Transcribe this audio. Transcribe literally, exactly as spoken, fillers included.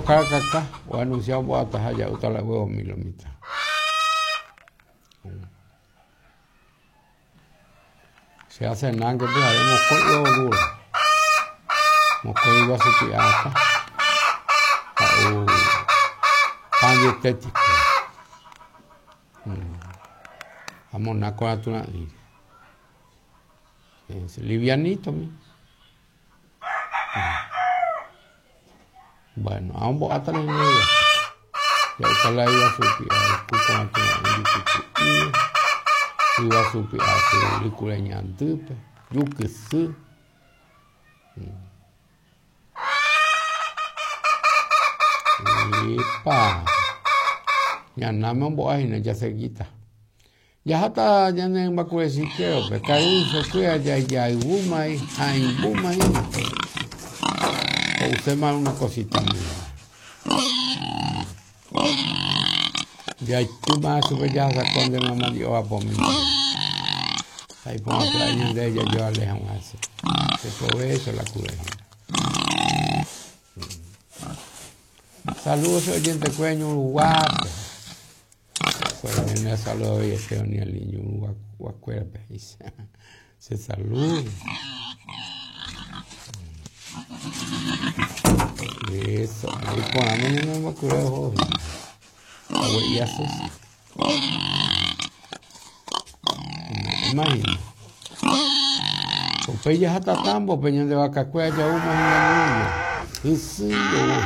Caracas o anunciado boataha ya uta la huevo milomita. Se hace nangue pues haremos con huevo duro. Mokõi guasu py'aata ha'u pan dietético. Ha monáko natura'ỹre. Livianito mi. Bueno, ambo'áta la ñande ja'uta la yguasu py'a ku ko'ã jukyky'íva, yguasu py'a syry kure ñandýpe, jukysy. Epa ñanáme ombo'ahína jaseguíta. Jaháta ñane mbakurechikérope karuisokuéra jajayvúmai hãimbúma hína. Ho'uséma una cosita mía. Jaitýma chupe jahasakua nde mamá oapomi. Ha iporã pya'e ñande jajoale hag̃ua hese. Se provecho la kure hína. Saludos oyentekuéra Ñuruguápe. Pues me saludo hoy este ni el Ñuruguakuérape. Se saluda. Eso, ahí ponamos un mbakure Ague'iasus. Imagina. Upéi jaháta tambope ñande vakakuéra ja'úma hína ñúme. Hysýi oúhina.